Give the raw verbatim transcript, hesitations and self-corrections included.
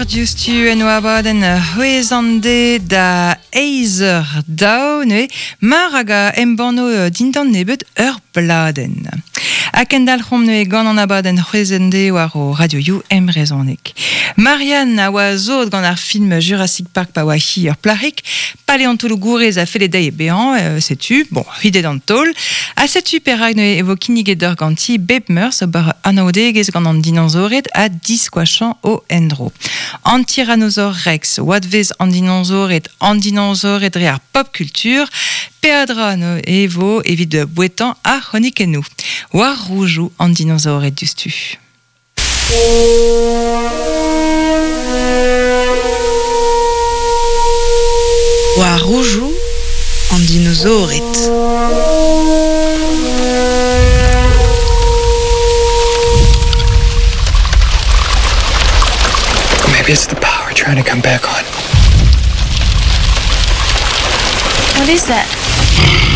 Diouzhtu en o abadenn c'hwezh an de da eizh eur daou neuze mar hag a embanno dindan nebeut ur bladenn. Ha kendalc'homp neuze gant an abadenn c'hwezh an de war o radioioù embrezhoneg. Marianne a oa zod gant ar film Jurassic Park pa oa hi ur plac'hig, paleontologourez a felle dezhi bezañ, euh, setu, bon, hidet an taol, ha setu perak neuze e vo kinniget d'ur ganti bep meurzh ober anaoudegezh gant an dinosaored ha diskoachañ o endro. An Tyrannosaur Rex, oadvezh an dinosaored, an dinosaored dre ar pop culture, peadra no e vo evit bouetañ ar c'hronikennoù. War roujoù an dinosaored diouzhtu. War roujoù an dinosaored. Maybe it's the power trying to come back on. What is that?